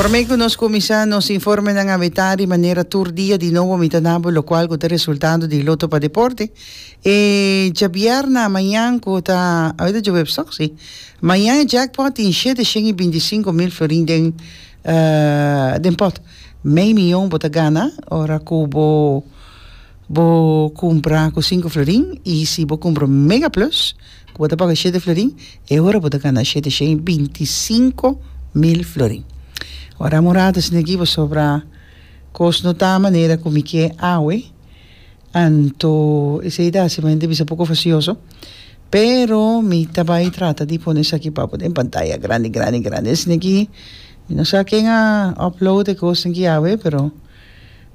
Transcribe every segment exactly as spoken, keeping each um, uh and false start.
Promé ku nos kuminsá nos informenan awe tardi manera tur dia di nobo mi ta duna bo lokual ku ta resultado di Loto pa Deporte. E djabièrnè mañan ku ta, awe ta djaweps, si. Mañan jackpot tin shete shen i binti i sinku mil florin den uh, den pot. Mei mion bo ta gana, ora ku bo bo kumpra ku sinku florin i si bo kumpra Mega Plus, ku bo ta paga shete florin, e ora bo ta gana shete shen i binti i sinku mil florin. Ora morada esaki sobra kos no ta manera ku mi ke awe, anto esei ta simplemente bisa poko fastioso, pero mi tambe ta trata di pone esaki pa den pantaya grandi, grandi, grandi. Esaki, mi no sa ken a upload e kos aki awe, pero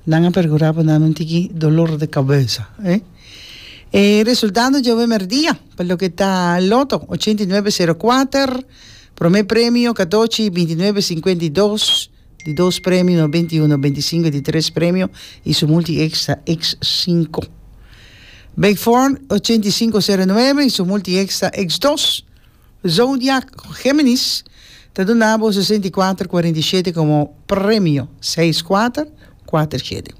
nan a perkurá pa nan tiki dolor di kabes, eh? E resultado djawe mèrdia, pa loke ta Loto, ochenta i nuebe sero kuater, promé premio, katochi, binti i nuebe sinkuenta i dos, di dos premio, nobenta i un, nobenta i sinku, di tres premio, i su multi extra X sinku. Big Four, ochenta i sinku sero nuebe, i su multi extra X dos. Zodiac Géminis, ta duna sesenta i kuater kuarenta i shete komo premio, seis kuater kuater shete.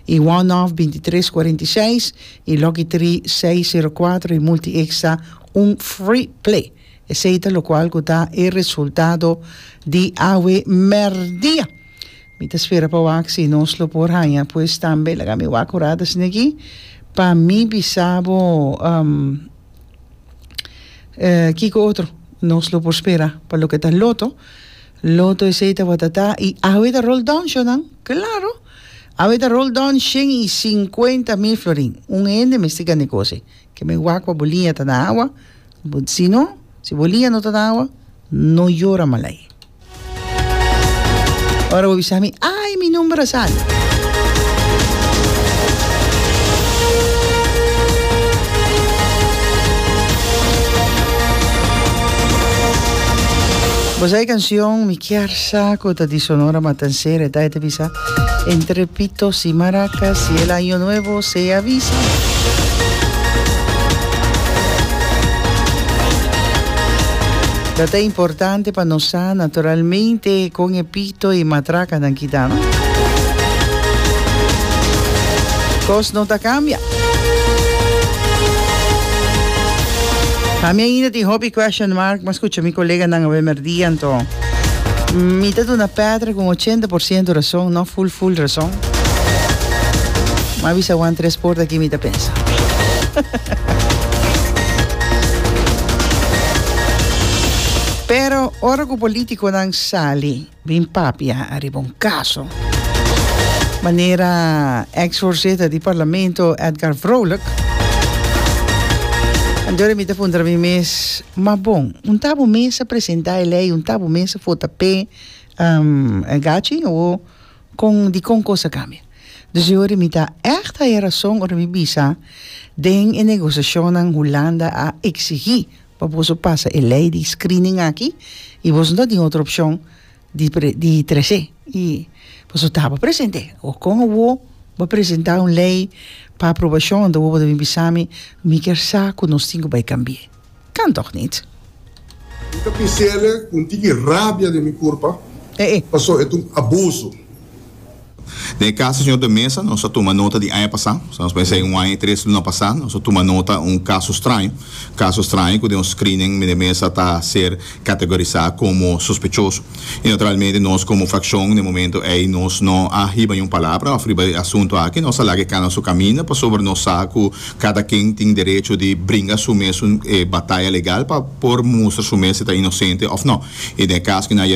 I One Off binti tres kuarenta i seis i Lucky tres seis sero kuater i multi extra un free play. Esei ta lokual ku ta e resultado di awe mèrdia. Mi ta spera pa wak si nos lo por haña pues tambe laga mi wak ora aki pa mi bisa bo um, eh, kiko otro nos lo por spera pa loke ta Loto. Loto esei ta batata i awe ta roll down shonan, claro. Awe ta roll down shen i sinkuenta mil florin. Un hende mester gana kos. Ke men wak pa bo liña ta na awa. Si no, si bo liña no ta na awa, no yora malai. Ora bo bisa mi, "Ai, mi number a sali." Bo sa e kanshon Mi Kier Sa ku ta di Sonora Matancera, ta ta bisa "Entre pitos y maracas y el año nuevo se avisa". Ta importante pa nos naturalmente kon e pito i matraka nan kita, no? Kos no ta kambia. Ami ainda tin hopi question mark, mas skucha mi koleganan awe mèrdia anto. Mi ta duna Petra ku ochenta porshento rason, no full full rason. M'a bisa one tres porta aki mi ta pensa. Pero ora ku polítikonan sali, bin papia ariba un kaso. Manera ex-voorzitter di parlamento Edgar Vrolijk. Anto mi ta puntra mi mes, ma bon, un ta bo mes a presentá e lei, un ta bo mes a vota p'e um, gachi o kon di kon kos a kambia. Dus ora mi ta echt e rason ora mi bisa den e negosiashon Hulanda a eksigí pa boso pasa e lei di screening aki i boso no tin otro opshon di, pre, di trese i boso tabata presente o kon bo bo presentá un lei pa aprobashon do bo debe bisa mi mi ke sa ku nos tin ku bai kambia. Kan toch niet? Mi ta bis'é ku tiki rabia den mi kurpa, Eh, eh. pasó e un abuso. Den kaso señor de Mesa, nos a tuma nota di aña pasá, nos pensa un aña i tres luna pasá, nos a tuma nota un kaso straño, kaso straño ku un screening de Mesa ta ser kategorisá komo sospechoso. I naturalmente nos komo frakshon, na momento ei nos no a hiba un palabra òf riba e asuntu aki, nos a laga kana su kaminda, pasobra nos sa ku kada ken tin derecho di bringa su mes eh, bataya legal pa por mustra su mes ta inosente òf no. I den kaso ku na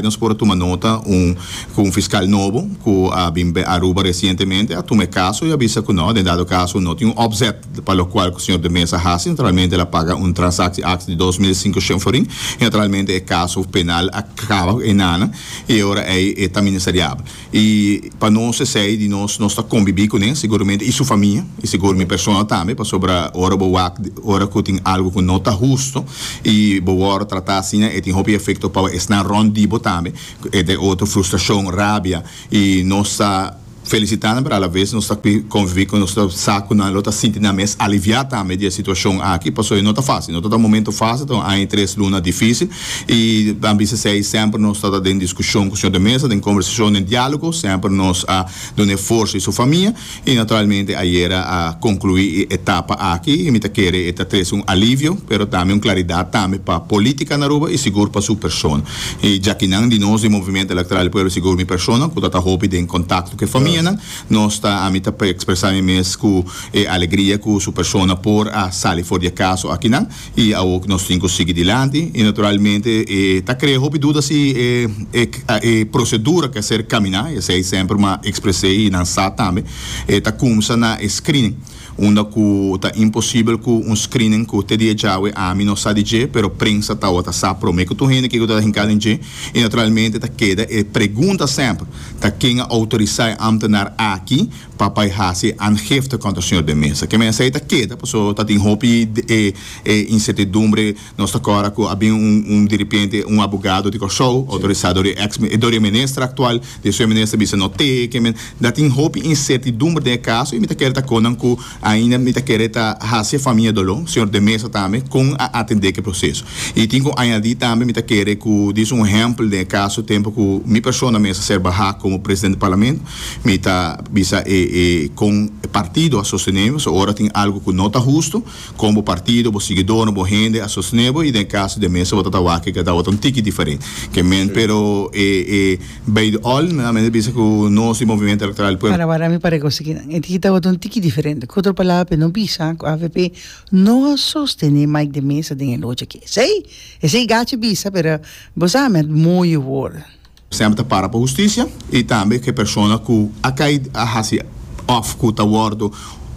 nos por tuma nota un ku un fiskal nobo ku a bin Aruba resientemente a tuma kaso i a bisa ku no, den dado kaso no tin un opzet pa lokual ku señor de Mesa a hasi, naturalmente el a paga un transactie di dos mil sinkushen florin i naturalmente e kaso penal a kaba einan i ora e ta ministeriabel. I pa nos esei di nos nos ta konbibí kuné, siguramente i su famia i sigur mi persona tambe, pasobra ora bo wak ora ku tin algu ku no ta hustu i bo wòrdu tratá asina, e tin hopi efekto pa esnan rònt di bo tambe, e di otro frustrashon, rabia i nos ta felicita nan, pero a la vez nos ta convivi cu nos ta sa cu nan lo ta sinti nan mes alivia tambe di e situacion aki, pasobra no ta facil, no ta un momento facil, ta un aña y tres luna dificil. Y ban bisa esey, semper nos ta den discusion cu señor de Meza, den conversacion, den dialogo, semper nos a duna forsa y su famia, y naturalmente ayera a conclui e etapa aki, y mi ta kere e ta trece un alivio, pero tambe un claridad tambe pa politica na Aruba y sigur pa su persona. Y djakinan di nos di Movimiento Electoral del Pueblo, sigur mi persona, cu ta hopi den contacto cu e famianan, nos ta, ami ta expresa mi mes cu e alegria cu su persona por a sali for di e caso akinan, y awor nos tin cu sigui dilanti. Y naturalmente e ta crea hopi duda si e, e, e procedura cu a ser camina, esey semper mi a expresa y nan sa tambe, e ta cuminsa na screening, unda cu ta imposibel cu un screening cu te dia djawe ami no sa di dje, pero prensa tawata sa prome cu tur hende kico ta hinca den dje. Y naturalmente ta keda e pregunta semper ta ken a autorisa e ambtenaar aki pa bay haci aangifte contra señor de Meza. Ke men esey ta keda, paso ta tin hopi e, e incertidumbre. Nos ta corda cu a bin un, un di repente un abogado di Corsou, autorisa door di ex, door di minister actual, di su minister bisa no te, ke men dat tin hopi incertidumbre den e caso. Y mi ta kere ta conan cu ainda mi ta kere ta haci famia dolo, señor de Meza tambe, con a atende cu e proceso. Y tin cu añadi tambe, mi ta kere cu dis un ehempel den e caso, tempo cu mi persona mes a ser baha como presidente di parlamento, mi ta bisa e, e con partido a sostene, so ora tin algo cu no ta husto, como partido, bo siguidor, bo hende a sostene, y den caso de Meza bo ta wak cu ta un tiki diferente. Ke men, pero e, e, bij de all, mi bisa cu nos Movimiento Electoral Pueblo. Para, para, mi para conseguir. E tiki tabata un tiki diferente. Cu otro palabra, no bisa cu A V P no a sostene Mike de Meza den e lochi aki. Sei? Esey Gachi a bisa, pero bo sa met mooie woorden. Semper ta para pa husticia y tambe cu persona cu a cay a haci of cu ta wordo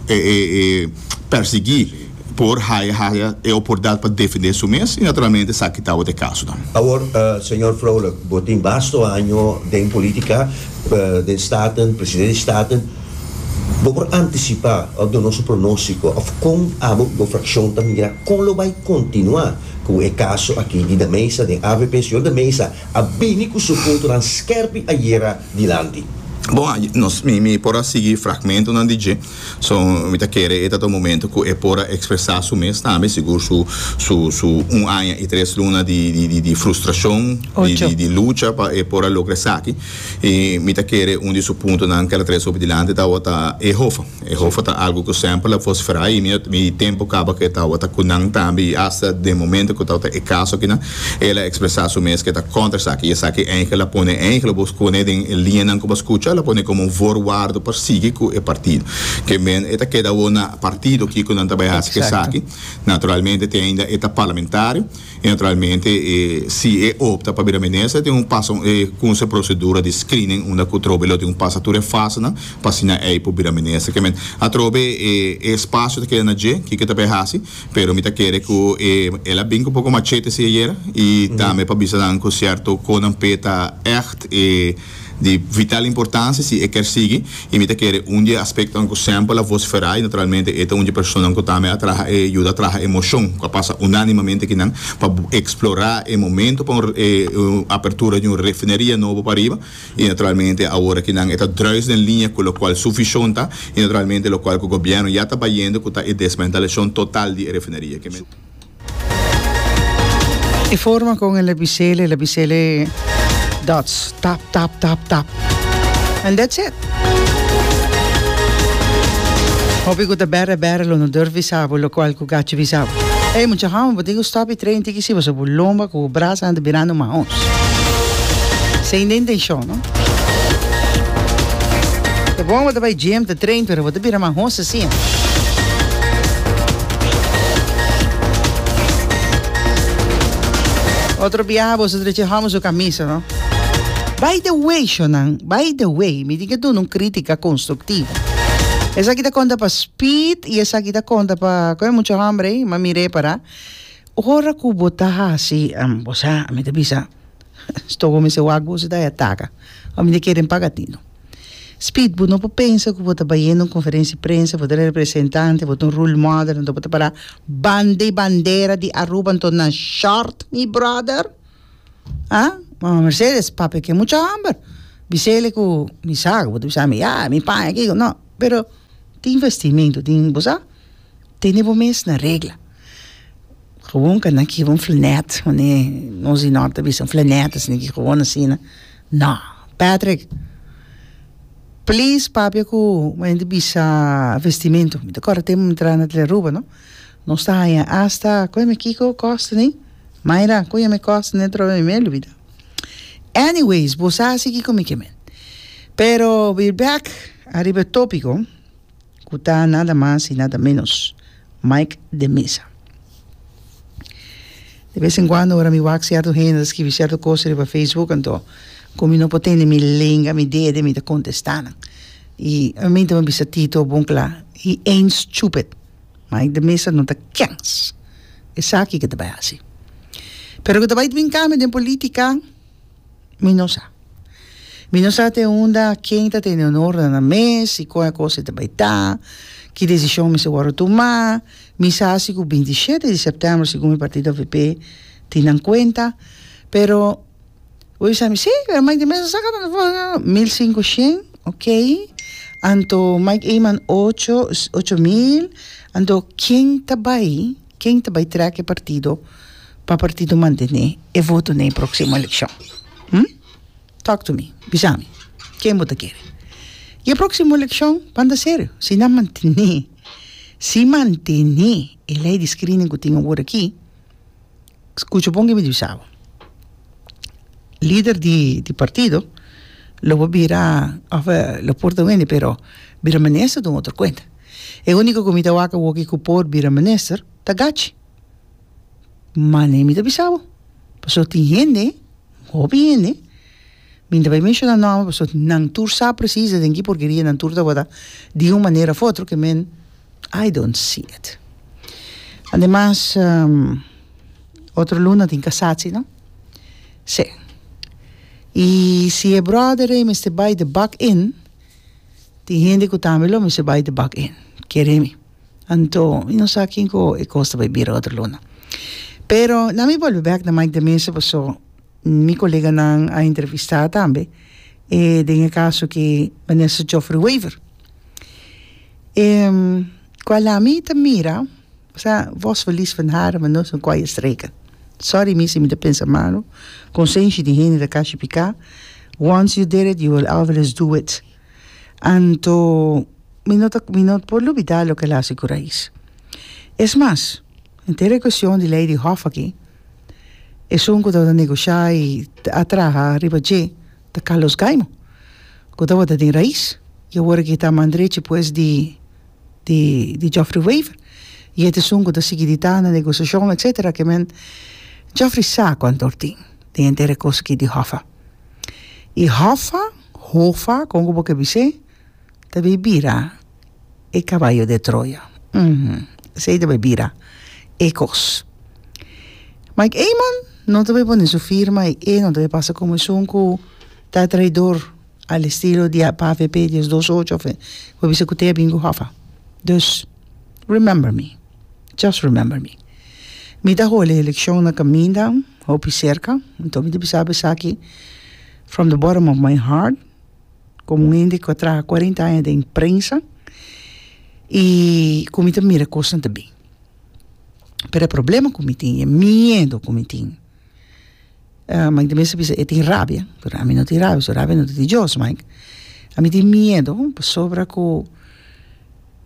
eh, eh, eh, persegui por haya haya e oportunidad pa defende su mes, y naturalmente esaki ta e caso tambe. Awor, uh, señor Vrolijk, bo tin basta aña den politica, uh, den Staten, presidente di Staten. Bo por anticipa of duna nos pronostico of con abo bo fraccion ta mira con lo bay continua cu e caso aki di de Meza di A V P? Señor de Meza a bini cu su puntonan skerpi ayera dilanti. Bon, nos, mi, mi por a sigui fragmentonan di dje, so mi ta kere e ta un momento cu e por a expresa su mes tambe, sigur su, su, su un aña y tres luna di, di, di, di frustracion, di, di, di lucha pa e por a logra esaki. Y mi ta kere un di su puntonan cu el a trece dilanti ta e H O F A. E H O F A ta algo cu semper a vocifera y mi, mi tempo caba cu ta cu nan tambe, hasta den momento cu ta e caso aki, el a expresa su mes cu ta contra esaki. Y esaki eigenlijk el a pone, eigenlijk bo pone den liña cu bo scucha, el a pone como un voorwaarde pa sigui cu e partido. Ke men e ta keda na partido cu nan tambe haci esaki. Naturalmente tin ainda e ta parlamentario y naturalmente eh, si e opta pa bira minister, tin un paso eh, cu e procedura di screening unda cu trobe lo tin un pasa tur e fase nan pa asina e por bira minister. Ke men atrobe eh, espacio ta keda na dje cu ta hasi, pero mi ta kere cu eh, el a bin cu poco machete si ayera y mm -hmm. tambe pa bisa dan cu cierto con p'e ta echt eh, di vital importancia si e kier sigui. Y mi ta kere un di aspecto cu semper a vocifera, y naturalmente e ta un di persona cu tambe a traha e yuda traha e mocion cu a pasa unanimamente akinan pa explora e momento pa e apertura di un refineria nobo pariba, y naturalmente awor akinan e ta kruis den liña cu locual su vision ta y naturalmente locual cu gobierno ya ta bayendo, cu ta e desmantelacion total di refineria. E forma con el a bis'e, el a bis'e dots, tap, tap, tap, tap. And that's it. Hopi cu ta bere bere lo no durf bisa bo locual cu Gachi bisa bo. Ei, mucha hamo, bo tin cu stop y train tiki si, bo lomba cu brasa anda birando mahos. Sin intencion, no? Ta bon bo ta bay gym, ta train, pero bo ta bira mahos asina. Otro biaha bo drecha hamo su camisa, no? By the way, shonan, by the way, mi tin cu duna un critica constructivo. Esaki ta conta pa Speed y esaki ta conta pa con mucho hambre, ma mire para. Ora cu bo ta hasi, um, bo sa, mi ta bisa, sto come se wak bo se da ataca. A mi quieren pagatino. Speed, bo no por pensa cu bo ta bayendo un conferencia di prensa, bo ta representante, bo ta un role model, anto bo ta para banda bandera di Aruba, anto na short, mi brother. Ah, Mama Mercedes, papia cu mucho hamber. Bisele ku mi sa, bo ta bisa mi, ya, mi paña kiko, no, pero tin vestimento, tin, bo sa, tene bo mes na regla. Gewoon kan aki un flanet, wanneer nos di Noord ta bisa un flanet, asina ki gewoon asina. No, Patrick, please papia ku mi bisa vestimento. Mi ta kòrda tempu mi traha na Telearuba, no? Nos ta haña hasta, kon mi kiko kosta ni? Mayra, kon mi kosta ni trobe mi me lubida. Anyways, bo sa si kiko mi ke men. Pero we're back ariba e tópiko ku ta nada mas i nada menos Mike de Meza. De bes en kuando ora mi wak sierto hende ta skibi sierto kos riba Facebook, anto ku mi no por tene mi lenga, mi dede, mi ta kontestá nan. I ami ta bisa Tito bon kla, he ain't stupid. Mike de Meza no ta kens. Esaki ku ta bai hasi. Pero ku ta bai bin kambio den polítika, mi no sa. Mi no sa te unda ken ta tene honor na mes i kon e kos ta bai ta, ki desishon mester wòrdu tumá. Mi sa si ku binti shete di sèptèmber segun mi partido A V P tin nan kuenta, pero bo bisa mi, sí, pero Mike de Meza saka mil sinku shen, ok. Anto Mike Eman ocho, ocho mil. Anto ken ta bai, ken ta bai trèk e partido pa partido mantené e voto na próksimo elekshon? Hm? Talk to me, bisa mi. Ken bo ta kere? I e próksimo elekshon, ban ta serio, si nan mantené, si mantené e lei di screening ku tin awor aki, skucha bon ku mi bisa bo. Lider di, di partido lo por bira, òf lo por ta wende, pero bira minister ta un otro kuenta. E úniko ku mi ta wak awor ku por bira minister ta Gachi. Mane mi ta bisa bo. Pasobra tin hende, hopi hende, mi ta bai menshoná nòmber, pasobra nan tur sa presis den ki porkeria nan tur tabata di un manera òf otro ke men I don't see it. Ademas, um, otro luna tin cassatie, no? Sí. I si e brother ei mester bai de bak in, tin hende ku tambe lo mester bai de bak in. Kere mi. Anto, mi no sa ken ku e kos ta bai bira otro luna. Pero, laga mi bolbe bèk na Mike de Meza, paso mi koleganan a entrevistá tambe, e den e kaso ku minister Geoffrey Wever. Um, kual ami ta mira, osea, vos verlies van haren, maar no zijn kwaaie streken. Sorry, mi si mi ta pensa malu. Konsenshi di hende ta kashi piká. Once you did it, you will always do it. Anto, mi no, ta, mi no por lubidá loke el a hasi ku Raiz. Es mas, henter e kuestion di lei di Hof aki, esun ku tabata negoshá i a traha riba dje, ta Carlos Gaimo. Ku tabata den Raiz. I awor ku ta man drechi pues di, di, di Geoffrey Wever. I esun ku ta sigui ta na negoshashon, et cetera. Ke men Geoffrey sa kuantu tin den henter e kos aki di Hoffa. I Hoffa, Hoffa, kon bo ke bis'é, ta bai bira e kabayo di Troya. Uhum. Esei ta bai bira e kos. Mike Eman no ta bai pone su firma i e no ta bai pasa komo esun ku ta traidor al estilo di A V P diesdos ocho òf bo bisa ku te bingo Hoffa. Dus remember me. Just remember me. Mi ta hole elekshon na kaminda, hopi serka. Anto mi ta bisa esaki from the bottom of my heart, komo un hende ku a traha kuarenta aña den prensa i ku mi ta mira kosnan ta bin. Pero e problema ku mi tin, e miedu ku mi tin. Uh, Mike de Meza bisa, e tin rabia, pero ami no tin rabia, so rabia no ta di Dios, Mike. Ami tin miedu, pasobra ku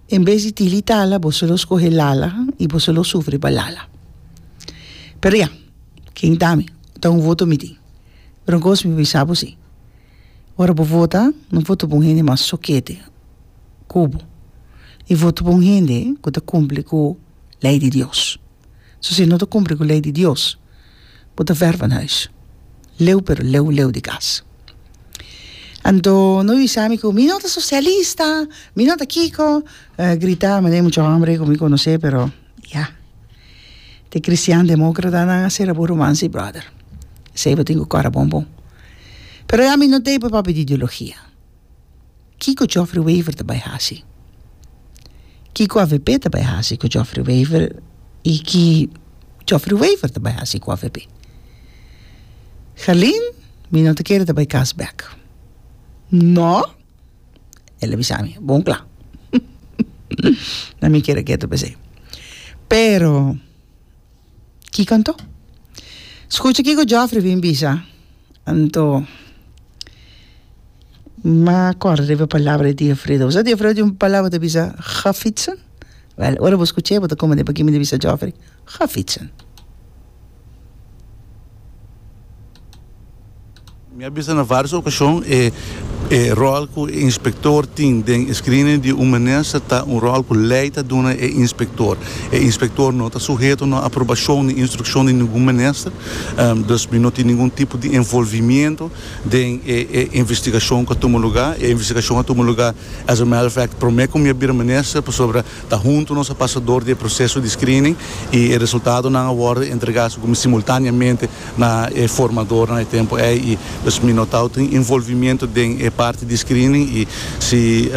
en bes di tili tala, bo lo skohe lala i bo lo sufri pa lala. Pero ya, ken ta mi? Ta un voto mi tin. Pero un kos mi bisa bo si. Ora bo vota, no vota pa un hende mas sokete, ku bo. I vota pa un hende ku ta kumpli ku lei di Dios. So si no ta kumpli ku lei di Dios, bo ta ver van huis. Leu pero leu leu di kas. Anto, no bisa mi ku mi no ta sosialista, mi no ta kiko, uh, grita, ma mucho hòmber ku mi konosé, pero ya. Te cristian demókrata nan a sera bo romance, brother. Esei bo tin ku kòrda bon bon. Pero ya mi no t'ei pa papia di ideologia. Kiko Geoffrey Wever ta bai hasi? Kiko A V P ta bai hasi ku Geoffrey Wever i ki Geoffrey Wever ta bai hasi ku A V P? Gerlin, mi no ta kere ta bai kas bèk. No! El a bisa mi, bon kla. Na mi kere ketu p'esei. Pero, kiko anto? Skucha kiko Geoffrey bin bisa. Anto, m'a kòrda riba e palabra di Tio Fredo. Bo sa Tio Fredo tin un palabra ta bisa, Ga fietsen? Wèl, ora bo skuch'é bo ta komprendé pakiko mi ta bisa Geoffrey, Ga fietsen. Mi a bisa na varios ocasion e e rol cu e inspector tin den e screening di un minister ta un rol cu ley ta duna e inspector. E inspector no ta suheto na aprobacion ni instruccion di ningun minister, dus mi no tin ningun tipo di envolvimiento den e e investigacion cu a tuma lugar. E investigacion a tuma lugar as a matter of fact prome cu mi a bira minister pasobra ta hunto nos a pasa door di e proceso di screening y e resultadonan a wordo entrega simultaneamente na e formadornan e tempo ey y dus mi no ta tin envolvimiento den e parti di screening y si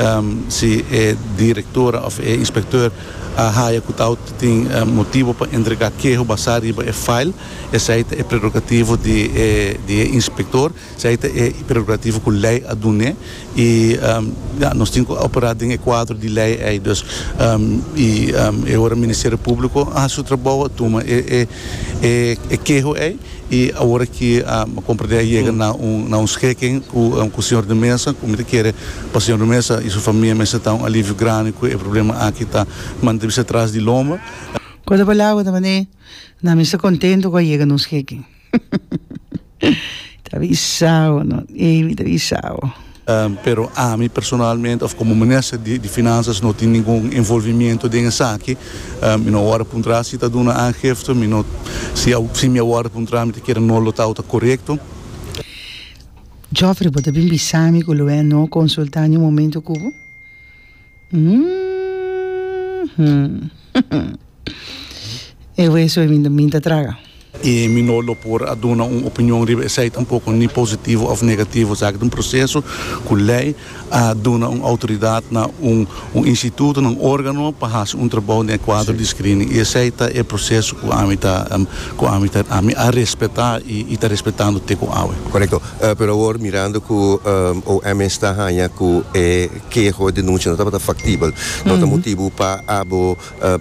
si e directora of e inspecteur a haya cu ta tin motibo pa entrega keho basa riba e file, esey ta e prerogativo di e di e inspector, esey ta e prerogativo cu ley a dun'e y ya nos tin cu opera den e cuadro di ley ey. Dus y e ora Ministerio Publico a haci su trabou a tuma e e e keho ey. Y awor aki a comprende a yega na un na un schikking cu cu señor de Meza, cu mi ta kere pa señor de Meza y su famia mester ta un alivio grandi cu e problema aki ta mantene bisa tras di lomba. Cu otro palabra ta manera na mi sta contento cu a yega na un schikking. Ta bisa bo no, ey mi ta bisa bo. Pero ami personalmente of como minister di Finanzas no tin ningun envolvimiento den esaki. Mi no a wòrdu puntrá si ta duna aangifte, mi no, si si mi a wòrdu puntrá mi ta kere no lo tabata korekto. Geoffrey, bo ta bin bisa mi ku lo e no konsultá niun momento ku bo? Uhmm. E weso ei mi ta traga. I mi no lo por a duna un opinion riba esei tampoko, ni positivo òf negativo. Esaki ta un proseso ku lei a duna un outoridat na un un instituto, na un órgano pa hasi un trabou den e kuadro di screening. I esei ta e proseso ku ami ta ku ami ta ami a respetá i i ta respetando te ku awe. Korekto. Pero awor mirando ku O M ta haña ku e keho, e denunsia no tabata faktibel, no ta motibu pa abo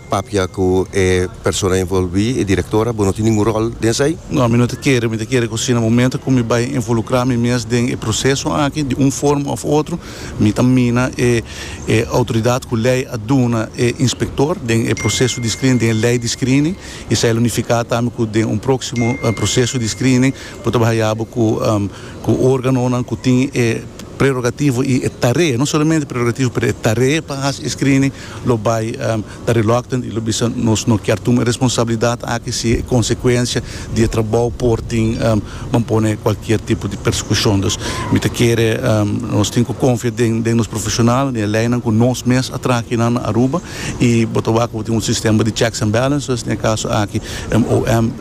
Papia ku e persona envolví, e direktora, bo no tin ningun ròl den esei? No, mi no ta kere. Mi ta kere ku si na momento ku mi bai involukrá mi mes den e proseso aki di un forma òf otro, mi ta mina e e outoridat ku lei a duna e inspektor den e proseso di screening, den e lei di screening. Esei lo nifiká tambe ku den un próksimo proseso di screening bo ta bai haña bo ku ku órganonan ku tin e prerogativo i e tarea, no solamente prerogativo pero e tarea pa hasi e screening lo bai ta reluctant i lo bisa nos no kier tuma e responsabilidad aki si e consecuencia di e trabou por tin ban pone cualkier tipo di persecucion. Dus mi ta kere nos tin cu confia den den nos profesional, den e leynan cu nos mes a traha kinan na Aruba i bo ta wak cu bo tin un sistema di checks and balances, den e caso aki O M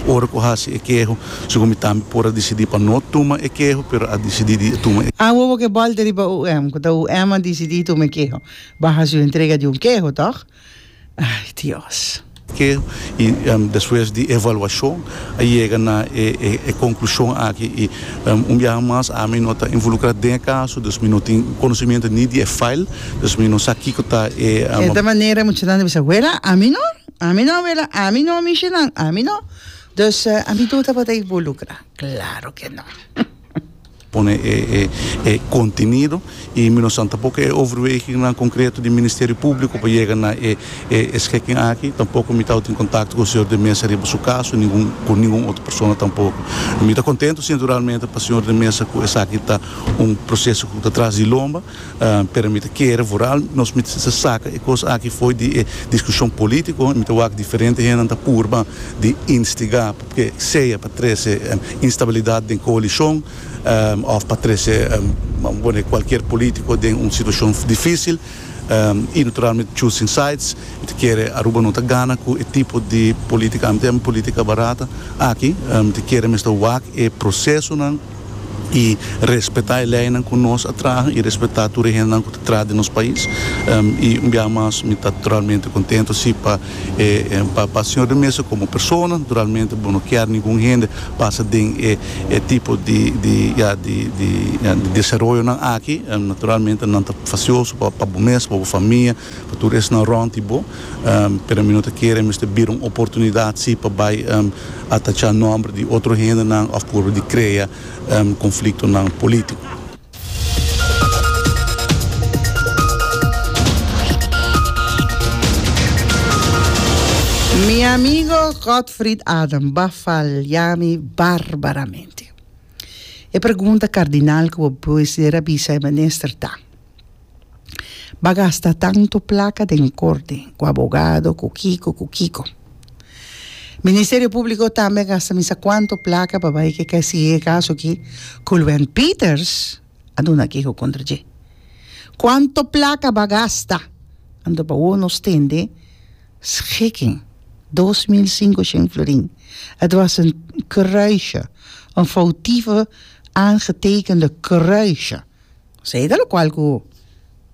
ora cu hasi e keho. Segun mi tambe por a disidí pa no tuma e keho, pero a disidí di tuma e. Awo bo ke bòlta riba U M, ku ta U M a disidí tuma e keho. Bo a hasi un entrega di un keho, tòg? Ai, Dios. Keho, i despues di evaluashon a yega na e e konklushon aki. I un biaha mas ami no ta involukrá den e kaso, dus mi no tin konosimiento ni di e file, dus mi no sa kiko ta e. E ta manera muchanan ta bisa, Wela, ami no, ami no, wela, ami no, mishinan, ami no. Dus ami tur tabata involucra? Claro que no. Pone e e contenido y mi no sa tampoco e overwegingnan concreto di Ministerio Publico pa yega na e e schikking aki. Tampoco mi tabatin contacto cu señor De Meza riba su caso, ningun cu ningun otro persona tampoco. Mi ta contento si naturalmente pa señor De Meza cu esaki ta un proceso cu ta tras di lomba, pero mi ta kere vooral nos mester saca e cos aki fo'i di e discusion politico. Mi ta wak diferente hendenan ta purba di instiga ke sea pa trese instabilidad den coalicion of pa trese pone cualkier politico den un situacion dificil y naturalmente choosing sides. Mi ta kere Aruba no ta gana cu e tipo di politica, mi ta yama politica barata aki. Mi ta kere mester wak e procesonan I respetá e leinan ku nos a traha i respetá tur e hendenan ku ta traha den nos pais. I un biaha mas mi ta naturalmente kontentu si pa e pa pa señor de Meza komo persona. Naturalmente bo no kier ningun hende pasa den e e tipo di di ya di di ya di desaroyonan aki. Naturalmente nan ta fastioso pa pa bo mes, pa bo famia, pa tur esnan rònt di bo. Pero mi no ta kere mester bira un oportunidat si pa bai atachá nòmber di otro hendenan òf purba di krea konfliktonan polítiko. Mi amigo Godfried Adam ba falya mi barbaramente. E pregunta cardinal cu bo mester a bisa e minister ta, Ba gasta tanto placa den corte, cu abogado, cu kico, cu kico. Ministerio Publico tambe a gasta misa cuanto placa pa bay ke sigui e caso aki cu Luen Peters a duna keho contra dje. Cuanto placa ba gasta? Anto pa awor nos tende schikking, dos mil cinco shen florin. Het was een kruisje, een foutieve aangetekende kruisje. Esey ta locual cu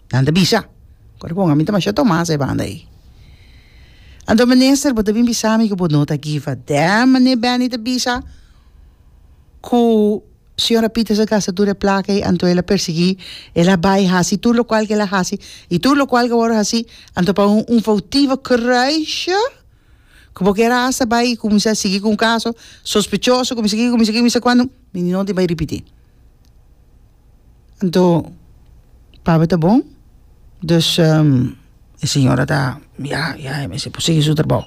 nan ta bisa. Kore bon, ami ta masha Tomas e banda ei. Anto minister, bo ta bin bisa mi ku bo no ta give a damn, meneer Benny ta bisa ku señora Peters a gasta tur e plaka ei, anto el a persiguí, el a bai hasi tur lokual ku el a hasi i tur lokual ku a wòrdu hasi, anto pa un un foutivo kruisje ku bo kier a hasta bai kuminsá sigui ku un kaso sospechoso, kuminsá aki, kuminsá aki, kuminsá kuando, mi no tin bai ripití. Anto pabia ta bon, dus e señora ta, ya, ya, e mester por sigui su trabou.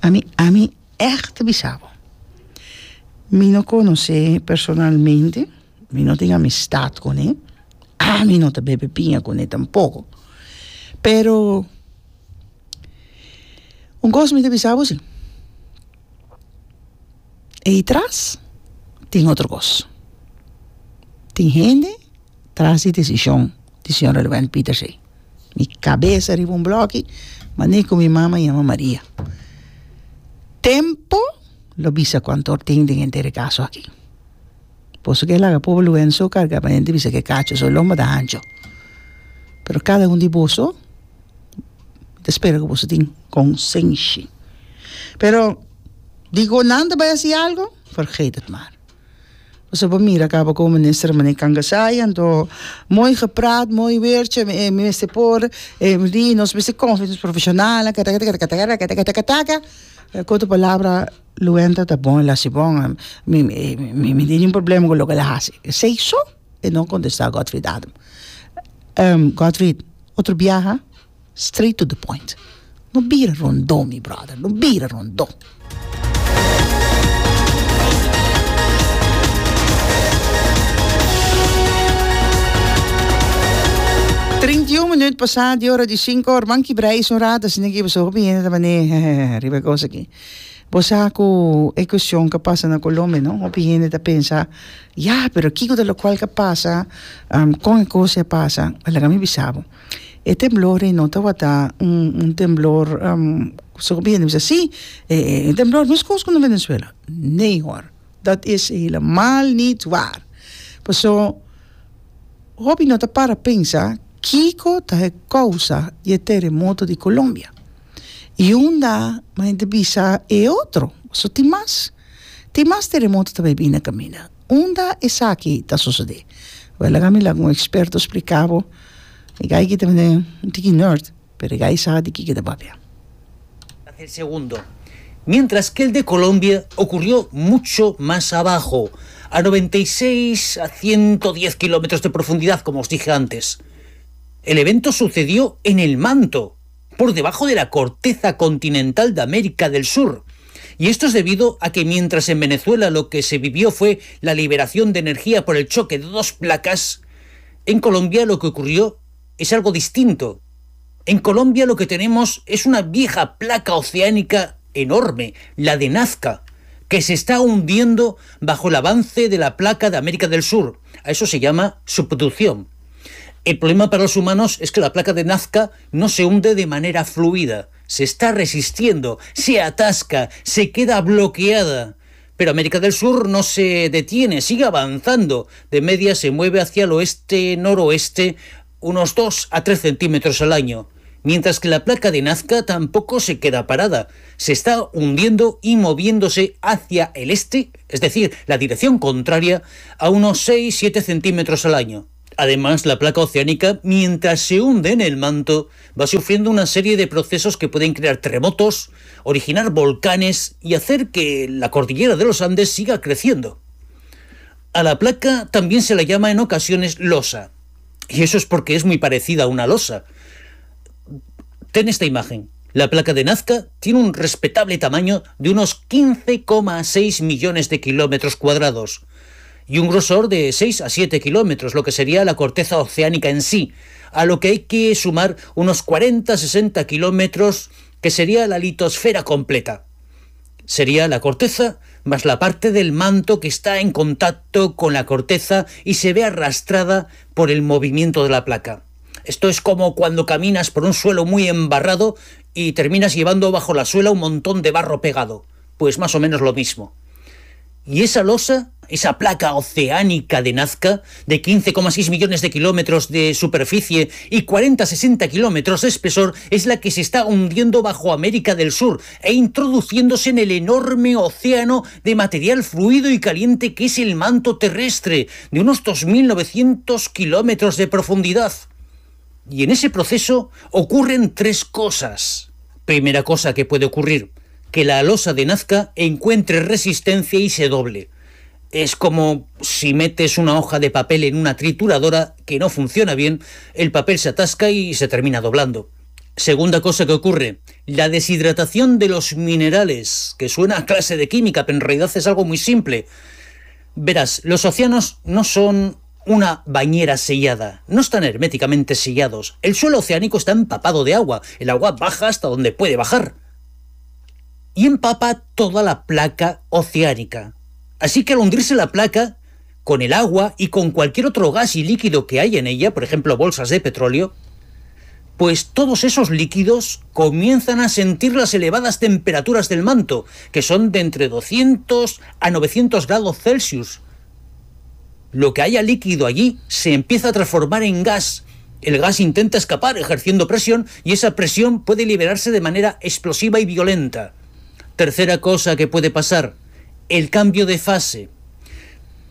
Ami, ami ègt ta bisa bo, mi no konosé personalmente, mi no tin amistat kuné, ami no ta bebe piña kuné tampoko, pero un kos mi ta bisa bo si, ei tras tin otro kos. Tin hende tras di desishon di señor Elwend Pietersz ei. Mi kabes riba un bloki, manera ku mi mama yama Maria. Tempo lo bisa kuantu tin den henter e kaso aki. Boso ke laga pober Luenzo so karga pa hende bisa ke kacho so lomba ta hancho. Pero kada un di boso, mi ta spera ku boso tin konsenshi. Pero di ku nan ta bai hasi algo, vergeet het maar. Boso por mira kaba ku minister meneer Kangasai, anto mooi gepraat, mooi weertje, mi mester por, di nos mester konfia nos profeshonalnan, katakatakatakatakataka. Ku otro palabra, Luenta ta bon, el hasi bon, mi mi mi tin niun problema ku loke el a hasi. Esei so e no kontestá Godfried Adam. Godfried, otro biaha, straight to the point. No bira rondó, mi brother, no bira rondó. Trinta i un minuut pasá di ora di sinku or. Man kibra is un rato asina ki pasobra hopi hende ta manera riba e kos aki. Bo sa ku e kuestion ku a pasa na Colombia no, hopi hende ta pensa, ya, pero kiko ta lokual ku a pasa, kon e kos a pasa? Laga mi bisa bo, e temblor ei no tabata un un temblor so hopi hende bisa si, e temblor meskos ku na Venezuela. Nee hoor, dat is helemaal niet waar. Paso hopi no ta para pensa kiko ta e kousa di e teremoto di Colombia. I unda ma hende bisa e otro, paso tin mas, tin mas teremoto ta bai bini na kaminda. Unda esaki ta sosodé? Wèl laga mi laga un eksperto splika bo. E gai ki ta un tiki nerd, pero e gai sa di kiko e ta papia. El segundo, mientras que el de Colombia ocurrió mucho más abajo, a noventa y seis a ciento diez kilómetros de profundidad, como os dije antes. El evento sucedió en el manto, por debajo de la corteza continental de América del Sur. Y esto es debido a que mientras en Venezuela lo que se vivió fue la liberación de energía por el choque de dos placas, en Colombia lo que ocurrió es algo distinto. En Colombia lo que tenemos es una vieja placa oceánica enorme, la de Nazca, que se está hundiendo bajo el avance de la placa de América del Sur. A eso se llama subducción. El problema para los humanos es que la placa de Nazca no se hunde de manera fluida, se está resistiendo, se atasca, se queda bloqueada. Pero América del Sur no se detiene, sigue avanzando. De media se mueve hacia el oeste-noroeste unos dos a tres centímetros al año. Mientras que la placa de Nazca tampoco se queda parada. Se está hundiendo y moviéndose hacia el este, es decir, la dirección contraria, a unos seis a siete centímetros al año. Además, la placa oceánica, mientras se hunde en el manto, va sufriendo una serie de procesos que pueden crear terremotos, originar volcanes y hacer que la cordillera de los Andes siga creciendo. A la placa también se la llama en ocasiones losa. Y eso es porque es muy parecida a una losa. Ten esta imagen. La placa de Nazca tiene un respetable tamaño de unos quince coma seis millones de kilómetros cuadrados y un grosor de seis a siete kilómetros, lo que sería la corteza oceánica en sí, a lo que hay que sumar unos cuarenta a sesenta kilómetros, que sería la litosfera completa. Sería la corteza más la parte del manto que está en contacto con la corteza y se ve arrastrada por el movimiento de la placa. Esto es como cuando caminas por un suelo muy embarrado y terminas llevando bajo la suela un montón de barro pegado. Pues más o menos lo mismo. Y esa losa, esa placa oceánica de Nazca, de quince coma seis millones de kilómetros de superficie y cuarenta a sesenta kilómetros de espesor, es la que se está hundiendo bajo América del Sur e introduciéndose en el enorme océano de material fluido y caliente que es el manto terrestre, de unos dos mil novecientos kilómetros de profundidad. Y en ese proceso ocurren tres cosas. Primera cosa que puede ocurrir, que la losa de Nazca encuentre resistencia y se doble. Es como si metes una hoja de papel en una trituradora que no funciona bien, el papel se atasca y se termina doblando. Segunda cosa que ocurre, la deshidratación de los minerales, que suena a clase de química, pero en realidad es algo muy simple. Verás, los océanos no son una bañera sellada, no están herméticamente sellados. El suelo oceánico está empapado de agua, el agua baja hasta donde puede bajar y empapa toda la placa oceánica. Así que al hundirse la placa, con el agua y con cualquier otro gas y líquido que hay en ella, por ejemplo bolsas de petróleo, pues todos esos líquidos comienzan a sentir las elevadas temperaturas del manto, que son de entre doscientos a novecientos grados Celsius. Lo que haya líquido allí se empieza a transformar en gas. El gas intenta escapar ejerciendo presión y esa presión puede liberarse de manera explosiva y violenta. Tercera cosa que puede pasar, el cambio de fase.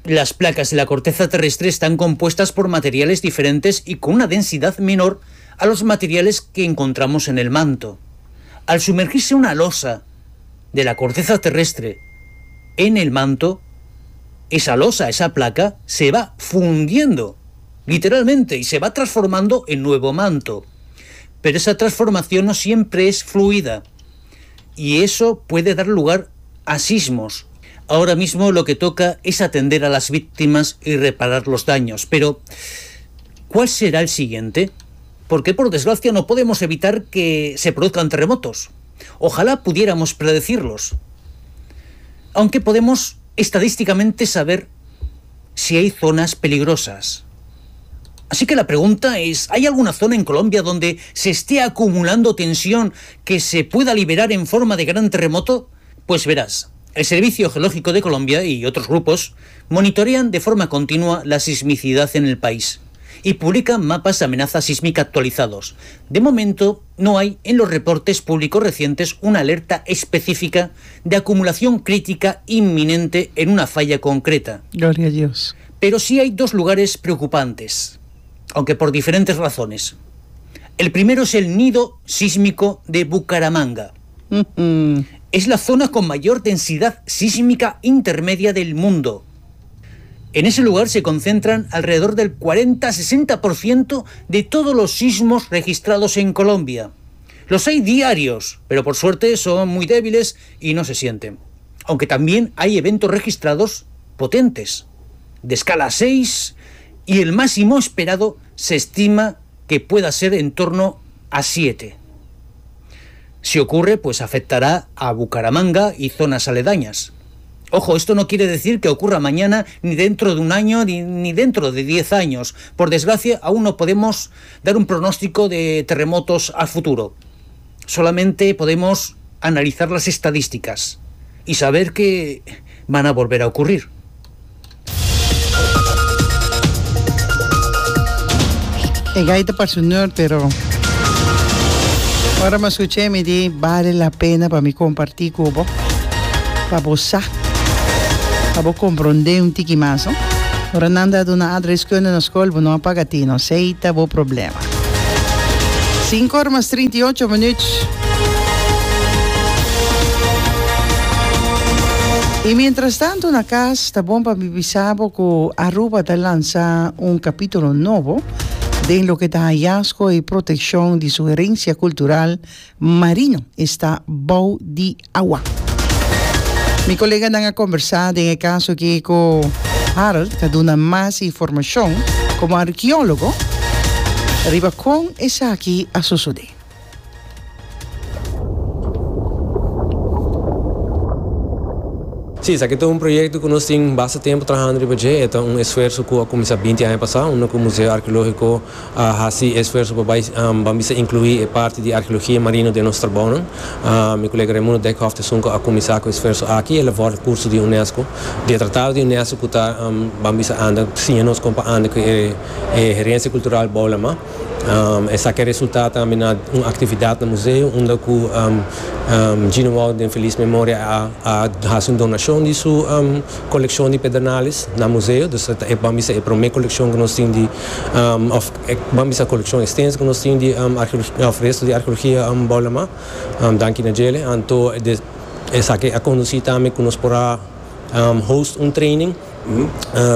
Las placas de la corteza terrestre están compuestas por materiales diferentes y con una densidad menor a los materiales que encontramos en el manto. Al sumergirse una losa de la corteza terrestre en el manto, esa losa, esa placa, se va fundiendo, literalmente, y se va transformando en nuevo manto. Pero esa transformación no siempre es fluida, y eso puede dar lugar a sismos. Ahora mismo lo que toca es atender a las víctimas y reparar los daños. Pero, ¿cuál será el siguiente? Porque, por desgracia, no podemos evitar que se produzcan terremotos. Ojalá pudiéramos predecirlos. Aunque podemos estadísticamente saber si hay zonas peligrosas. Así que la pregunta es, ¿hay alguna zona en Colombia donde se esté acumulando tensión que se pueda liberar en forma de gran terremoto? Pues verás, el Servicio Geológico de Colombia y otros grupos monitorean de forma continua la sismicidad en el país y publican mapas de amenaza sísmica actualizados. De momento, no hay en los reportes públicos recientes una alerta específica de acumulación crítica inminente en una falla concreta. Gloria a Dios. Pero sí hay dos lugares preocupantes, aunque por diferentes razones. El primero es el nido sísmico de Bucaramanga. Mm-hmm. Es la zona con mayor densidad sísmica intermedia del mundo. En ese lugar se concentran alrededor del cuarenta a sesenta por ciento de todos los sismos registrados en Colombia. Los hay diarios, pero por suerte son muy débiles y no se sienten. Aunque también hay eventos registrados potentes, de escala seis, y el máximo esperado se estima que pueda ser en torno a siete. Si ocurre, pues afectará a Bucaramanga y zonas aledañas. Ojo, esto no quiere decir que ocurra mañana, ni dentro de un año, ni, ni dentro de diez años. Por desgracia, aún no podemos dar un pronóstico de terremotos al futuro. Solamente podemos analizar las estadísticas y saber que van a volver a ocurrir. E gai ta parse un nerd, pero ora mi a scuch'é mi di bale la pena pa mi comparti cu bo, pa bo sa, pa bo comprende un tiki mas, no? Ora nan ta duna aardrijkskunde na scol bo no a paga tino, esey ta bo problema. Cinco or mas trinta i ocho minuut. I mientras tanto na cas ta bon pa mi bisa bo cu Aruba ta lansa un capitulo nobo den loke ta hallazgo y proteccion di su herencia cultural marino, esta bou di awa. Mi coleganan a conversa den e caso aki cu Harold ta duna mas informacion como arqueologo riba con esaki a sosode. Sí, esaki ta un proyecto cu nos tin basta tempo trahando riba dje. E ta un esfuerzo cu a cuminsa binti aña pasa, unda cu Museo Arqueologico a haci esfuerzo pa bay, ban bisa inclui e parti di arqueologia marino den nos trabounan. Mi colega Raimundo Dijkhoff ta esun cu a cuminsa cu e esfuerzo aki. El a volg curso di UNESCO, di e tratado di UNESCO cu ta, ban bisa anda siña nos con pa anda cu e herencia cultural bou lama. Esaki a resulta tambe na un actividad na museo unda cu Gino Wout den feliz memoria a a haci un donacion di su coleccion di pedernales na museo. Dus ta e ban bisa e prome coleccion cu nos tin di of e ban bisa coleccion extenso cu nos tin di archeologia of resto di archeologia bou lama. Danki na djele. Anto esaki a conduci tambe cu nos por a host un training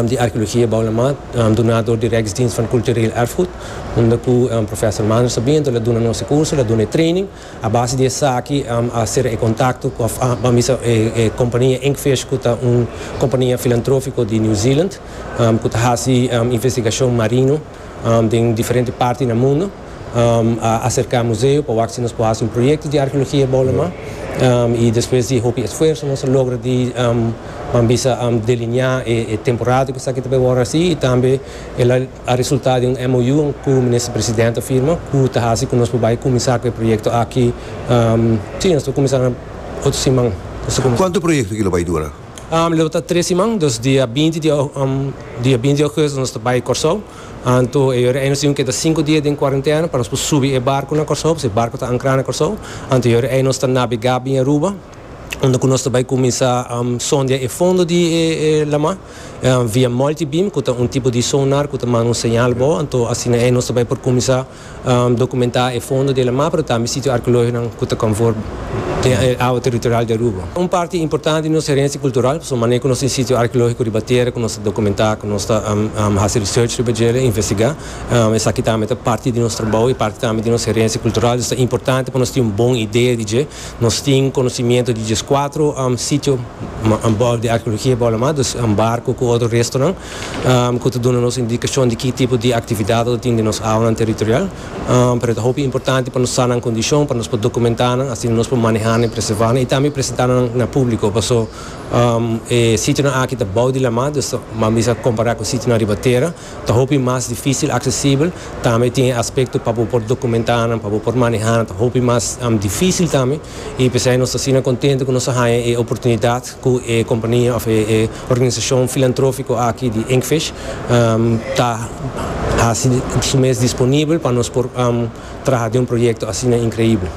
di archeologia bou lama duna door di Rijksdienst van Cultureel Erfgoed, unda cu Professor Mander Sabien lo duna nos e curso, lo duna e training. A base di esaki a cera e contacto cu of a bisa e compania Inkfish, cu ta un compania filantrofico di New Zealand cu ta haci investigacion marino den diferente parti na mundo. A acerca museo pa wak si nos por haci un proyecto di archeologia bou lama y despues di hopi esfuerzo nos a logra di ban bisa delinea e temporada cu esaki ta bay worde haci y tambe el a resulta di un M O U cu Minister Presidente a firma cu ta haci cu nos por bay cuminsa cu e proyecto aki. Si, nos ta cuminsa na otro siman. Cuanto proyecto aki lo bay dura? Lo ta tres siman, dus dia binti di, dia binti di augustus nos ta bay Corsou. Anto e ora ei nos tin keda sinku dia den kuarentena pa nos por subi e barco na Corsou, pasobra e barco ta ancra na Corsou. Anto e ora ei nos ta nabega bin Aruba, unda ku nos ta bay kuminsa sondia e fondo di e lama via multibeam, ku ta un tipo di sonar ku ta manda un señal bo. Anto asina ei nos ta bay por kuminsa dokumenta e fondo di lama, pero tambe sitio arkeológikonan ku ta konforme den e awa territorial di Aruba. Un parti importante di nos herensia kultural, pasobra manera ku nos tin sitio arkeológiko riba tera, ku nos ta dokumentá, ku nos ta hasi research riba djele, investigá, esaki tambe ta parti di nos trabou i parti tambe di nos herensia kultural. Dus ta importante pa nos tin un bon idea di dje. Nos tin konosimiento di dieskuatro sitio di arkeologia bou lama, dus un barko ku otro restonan, ku ta duna nos indikashon di ki tipo di aktividat ta tin den nos awanan territorial. Pero ta hopi importante pa nos sa nan kondishon, pa nos por dokumentá nan, asina nos por manehá nan, preservá nan i tambe presentá nan na públiko. Paso e sitionan aki ta bou di lama, dus ban bisa kompará ku sitionan riba tera, ta hopi mas difísil aksesibel. Tambe tin e aspekto pa bo por dokumentá nan, pa bo por manehá nan, ta hopi mas difísil tambe. I p'esei nos ta asina kontento ku nos a haña e oportunidat ku e kompania òf e organisashon filantrófiko aki di Inkfish ta hasi su mes disponibel pa nos por traha den un proyekto asina inkreibel.